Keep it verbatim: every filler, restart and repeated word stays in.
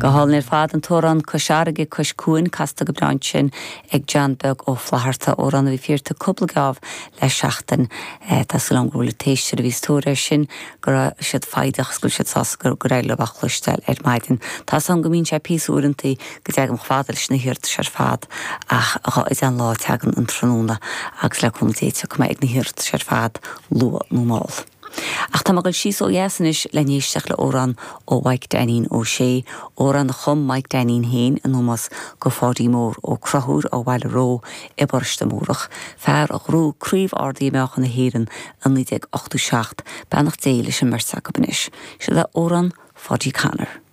Go hálainn ar fad an t-amhrán Cois Fharraige Cois Cuain casta go breá ansin ag John Beag Ó Flatharta amhrán a bhí fiarta cúpla geábh le seachtain Tá súil agam go bhfuil éisteoirí a bhí sa tóir air sin go raibh siad foighdeach go siad sásta gur gur le bheith cloisteáil ar maidin. Tá san go mbíonn sé píosa uaireanta go dteagaim chomh fada leis na hiarratais ar fad ach dhá an lá teagann an tráthnóna agus le cúnamh Dé go ag na hiarratais ar fad luath nó mall. Ach tá go síos ó dheas anois le n-éisteacht le amhrán ó Mhaidhc Dainín Ó Sé, amhrán a chum Mike Dainín féin in ómós go Pháidí Mór Ó Conchúir ó Bhaile Ró i bParóiste Múrach, fear a ghnóthaigh Craobh Ardaí Meáchan na hÉireann in naoi déag ochtó seacht, beannacht Dé leis an mbeirt acu anois, Seo le amhrán Pháidí Connor.